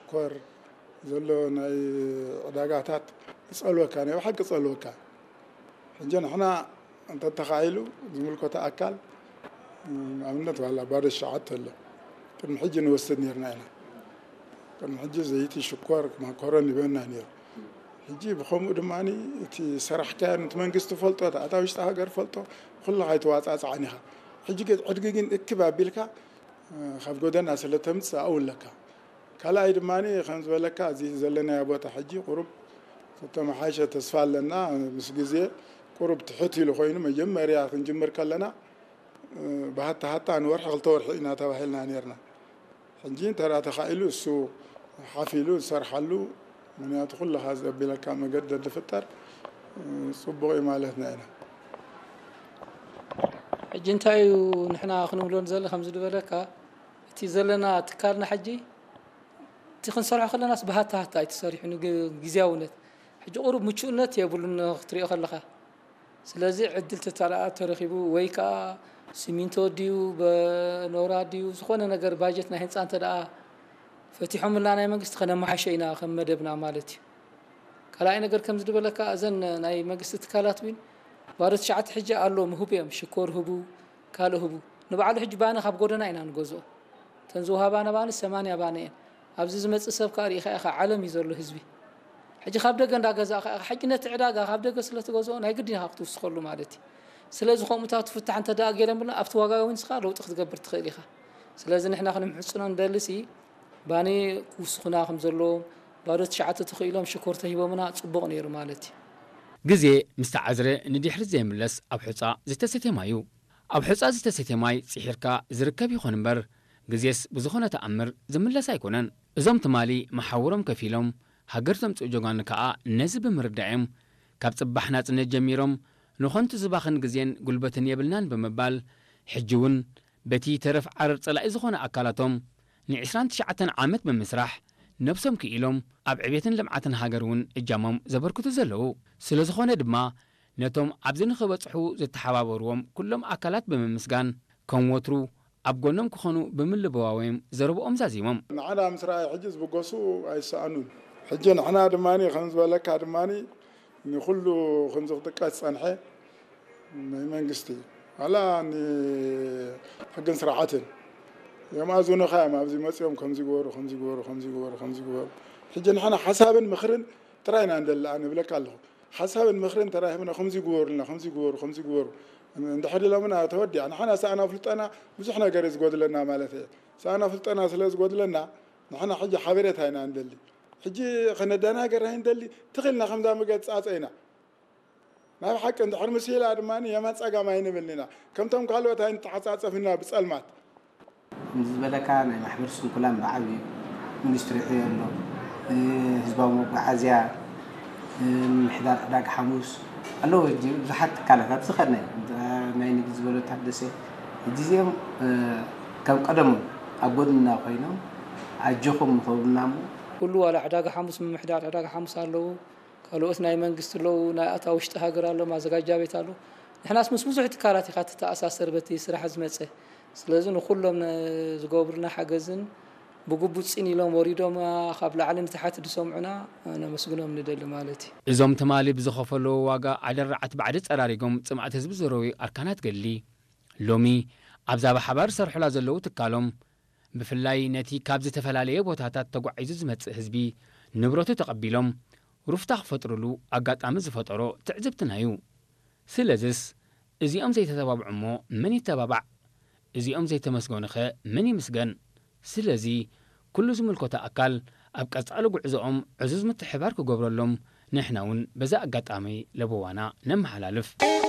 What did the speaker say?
ሽኮር ዘሎ ናይ ዕዳጋታት ይጸልወካ፣ ናይ ብሓቂ ጸልወካ። ሕጂ ንሕና እንተተኻኢሉ ዝምልከቶ ኣካል፣ እም፣ ኣብነት ዋላ ባዶ ሸዓተ ኣሎ። ቅድሚ ሕጂ ንወስድ ነርና ኢና። ቅድሚ ሕጂ ዘይቲ፣ ሽኮር፣ ማኮረን ይበና ነይሩ። ሕጂ ብኸምኡ ድማ እቲ ሰራሕካዮ እቲ መንግስቲ ፈልጦ፣ እቲ ኣታ ውሽጢ ሃገር ፈልጦ፣ ኩሉ ኣይተዋጻጽዓን ኢኻ። ሕጂ ግን ዕድጊ ግን እክብ ኣቢልካ፣ እ፣ ካብ ጎደና ስለ ተምጽእ ኣብኡ ኣለካ። ካልኣይ ድማ ከም ዝበለካ፣ እዚ ዘለናዮ ቦታ ሕጂ ቁሩብ ተተመሓየሸ ተስፋ ኣለና። ምስ ግዜ ቁሩብ ትሕት ኢሉ ኮይኑ፣ መጀመርያ ክንጅምር ከለና፣ እ፣ ብሃታ ሃታ ንወርሒ ክልተ ወርሒ ኢና ተባሂልና ነርና። ሕጂ እንተ ደኣ ተኻኢሉ እሱ ሓፍ ኢሉ ዝሰርሓሉ፣ ምኽንያቱ ኩልኻ ዘቢለካ መገዲ እንተፍጠር፣ እ፣ ጽቡቕ እዩ ማለትና ኢና። ሕጂ እንታይ እዩ ንሕና ክንብሎ ንዘለ ከምዚ ዝበለካ፣ እቲ ዘለና ትካልና ሕጂ እቲ ክንሰርሖ ከለናስ ብሃታ ሃታ እዩ ተሰሪሑ፣ ንግ-፣ ግዝያውነት። ሕጂ ቁሩብ ምቹእነት የብሉን ክትሪኦ ከለኻ። ስለዚ ዕድል ተተረኣ ተረኺቡ ወይ ከኣ ሲሚንቶ ድዩ፣ በኖራ ድዩ፣ ዝኾነ ነገር ባጀት ናይ ህንጻ እንተ ደኣ ፈቲሖምልና ናይ መንግስቲ ከነመሓሾ ኢና ከም መደብና ማለት እዩ። ካልኣይ ነገር ከምዚ ዝበለካ እዘን ናይ መንግስቲ ትካላት እውን ባዶ ትሽዓተ ሕጂ ኣሎ ምህቡ እዮም። ሽኮር ህቡ፣ ካልእ ህቡ። ንባዕሉ ሕጂ ባኒ ካብ ጎደና ኢና ንገዝኦ። እተን ዝወሃባና ባኒ ሰማንያ ባኒ እየን። ኣብዚ ዝመጽእ ሰብ ከኣ ርኢኻ ኢኻ፣ ዓለም እዩ ዘሎ ህዝቢ። ሕጂ ካብ ደገ እንዳገዛእካ ኢኻ። ሕጂ ነቲ ዕዳጋ ካብ ደገ ስለ ትገዝኦ ናይ ግድን ኢኻ ክትውስኸሉ ማለት እዩ። ስለዚ ከምኡታት ፍታሕ እንተ ደኣ ገይረምልና ኣብቲ ዋጋ እውን ንስኻ ለውጢ ክትገብር ትኽእል ኢኻ። ስለዚ ንሕና ክንምሕጽኖ ንደልሲ ባኒ ክውስኹና ከም ዘለዎም፣ ባዶ ትሽዓተ ተኽኢሎም ሽኮር ተሂቦምና ጽቡቕ ነይሩ ማለት እዩ። ግዜ ምስ ተዓዝረ ንድሕሪት ዘይምለስ ኣብ ሑጻ ዝተሰትየ ማይ እዩ። ኣብ ሑጻ ዝተሰትየ ማይ ጽሒርካ ዝርከብ ይኹን እምበር፣ ግዜስ ብዝኾነ ተኣምር ዝምለስ ኣይኮነን። እዞም ትማሊ መሓውሮም ከፊሎም ሃገር ዘምጽኡ ጀጋኑ ከኣ ነዚ ብምርዳእ እዮም ካብ ጽባሕ ናጽነት ጀሚሮም ንኸንቱ ዝባኽን ግዜን ጉልበትን የብልናን ብምባል፣ ሕጂ እውን በቲ ተረፍ ዓረር ጸላኢ ዝኾነ ኣካላቶም ንዕስራን ትሽዓተን ዓመት ብምስራሕ ነብሶም ክኢሎም ኣብ ዕቤትን ልምዓትን ሃገር እውን እጃሞም ዘበርክቱ ዘለዉ። ስለ ዝኾነ ድማ ነቶም ኣብዚ ንኽበጽሑ ዝተሓባበርዎም ኩሎም ኣካላት ብምምስጋን ከም ወትሩ ኣብ ጎኖም ክኾኑ ብምልብዋዎም ዘረብኦም ዛዚሞም። ንዓና ምስ ረኣዩ ሕጂ ዝብገሱ ኣይሰኣኑን። ሕጂ ንሕና ድማ ከም ዝበለካ ድማ ንኹሉ ከምዚ ክጥቀስ ዝጸንሐ ናይ መንግስቲ ዋላ ንሕግን ስርዓትን የማእዝኑኻ እዮም። ኣብዚ መጺኦም ከምዚ ግበሩ፣ ከምዚ ግበሩ፣ ከምዚ ግበሩ፣ ከምዚ ግበሩ። ሕጂ ንሕና ሓሳብን ምኽርን ጥራይ ኢና ንደሊ፣ ኣነ እብለካ ኣለኹ። ሓሳብን ምኽርን ተራሂብና ከምዚ ግበሩልና፣ ከምዚ ግበሩ፣ ከምዚ ግበሩ እንድሕር ኢሎምና ተወዲኣ። ንሕና ሰኣና ፍልጠና ብዙሕ ነገር እዩ ዝጎድለና ማለት እየ። ሰኣና ፍልጠና ስለ ዝጎድለና ንሕና ሕጂ ሓበሬታ ኢና ንደሊ። ሕጂ ከነደናገር ኣይንደሊ፣ ትኽልና ከምዛ መገድ ጻጸ ኢና። ናብ ሓቂ እንድሕር ምስ ኢላ ድማ የማን ጸጋም ኣይንብልን ኢና። ከምቶም ካልኦት ኣይንተዓጻጸፍና ብጸልማት። ከምዚ ዝበለካ ናይ ማሕበር ስንኩላን ብዓብዩ ሚኒስትሪ ይሕዮ ኣሎ። እ፣ ህዝባዊ መጓዓዝያ፣ እ፣ ምምሕዳር ዕዳጋ ሓሙስ ኣለዉ። ሕጂ ብዙሓት ትካላት ኣብዚ ከድና እዩ። ናይ ንግዲ ዝበሎ ታደሰ፣ ሕጂ እዚኦም፣ እ፣ ከም ቀደሞም ኣብ ጎድንና ኮይኖም ኣጆኹም ንኸብሉና እሞ ኩሉ ዋላ ዕዳጋ ሓሙስ፣ ምምሕዳር ዕዳጋ ሓሙስ ኣለዉ። ካልኦት ናይ መንግስቲ ኣለዉ፣ ናይ ኣታ ውሽጢ ሃገር ኣሎ፣ ማዘጋጃ ቤት ኣሎ። ንሕናስ ምስ ብዙሕ ትካላት ኢኻ ትተኣሳሰር በቲ ስራሕ ዝመጸ። ስለዚ ንኹሎም ነ-፣ ዝገብሩልና ሓገዝን ብግቡእ ጽን ኢሎም ወሪዶም፣ ኣ፣ ካብ ላዕሊ ንታሕቲ ዝሰምዑና ነመስግኖም ንደሊ ማለት እዩ። እዞም ትማሊ ብዝኸፈለዎ ዋጋ ኣደራዓት ባዕዲ ጸራሪጎም ጽምኣት ህዝቢ ዘረውዩ ኣርካናት ገድሊ፣ ሎሚ ኣብዛ ብሓባር ዝሰርሑላ ዘለዉ ትካሎም፣ ብፍላይ ነቲ ካብ ዝተፈላለየ ቦታታት ተጓዒዙ ዝመጽእ ህዝቢ ንብረቱ ተቐቢሎም ሩፍታ ክፈጥሩሉ ኣጋጣሚ ዝፈጠሮ ትዕዝብትና እዩ። ስለዝስ እዚኦም ዘይተተባብዑ እሞ መን ይተባባዕ? እዚኦም ዘይተመስገኑኸ መን ይምስገን? ስለዚ ኩሉ ዝምልከቶ ኣካል ኣብ ቀጻሊ ጉዕዞኦም ዕዙዝ ምትሕብባር ክገብረሎም ንሕና እውን በዚ ኣጋጣሚ ለበዋና ነመሓላልፍ።